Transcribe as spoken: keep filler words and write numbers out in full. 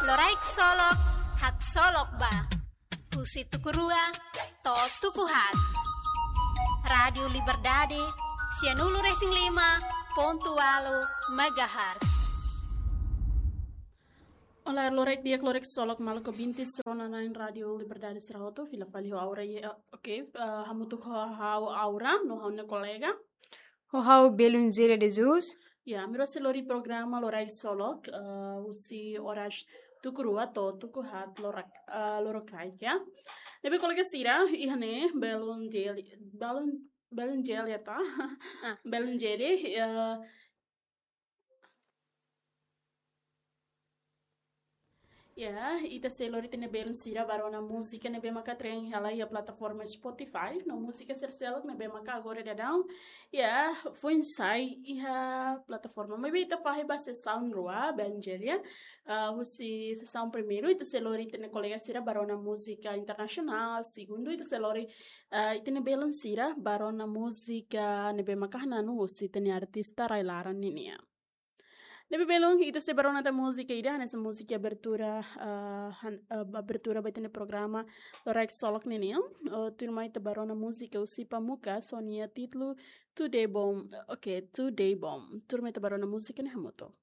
Loraik Solok, haksolok ba. Husi tuku rua to'o tuku haat. Rádiu Liberdade, sianulu-resin-lima pontu ualu megahertz. Olá, loraik di'ak, loraik solok maluk ouvintes rona-na'in Rádiu Liberdade sira hotu, fila fali ho Aura, ya, oke, eh, hamutuk ho ha'u Aura, no ha'u-nia kolega. Ho ha'u Belun Zira de Jesus. Ya, ami rua sei lori programa Loraik Solok, eh, husi oras tuku rua to'o tuku haat lorak, eh, lorokraik, ya. Ne'ebé kolega sira, iha ne'e, Belun Zeli, Belun, Belun Zeli, ya, ta? Ah. Belun Zeli, eh, ya, ita sei lori ita-nia belun sira ba rona múzika ne'ebé maka trend hela iha plataforma Spotify, no múzika sira seluk ne'ebé maka agora daudaun, ya, foin sai iha plataforma. Maibé ita fahe ba sesaun rua, Belun Zeli, ya. Ah, husi sesaun primeiru, ita sei lori ita-nia kolega sira ba rona múzika internasionál, segundu, ita sei lori, ah, ita-nia belun sira ba rona múzika ne'ebé maka hananu husi ita-nia artista rai-laran ninian. Ne'ebé belun, ita sei ba rona tan múzika ida, hanesan múzika abertura, ah, han-, ah, abertura ba ita-nia programa Loraik Solok ninian. Oh, tuirmai ita ba rona múzika husi Pamukas, ho nia títulu Tudo de Bom. Oke, Tudo de Bom. Tuirmai ita ba rona múzika ne'e hamutuk.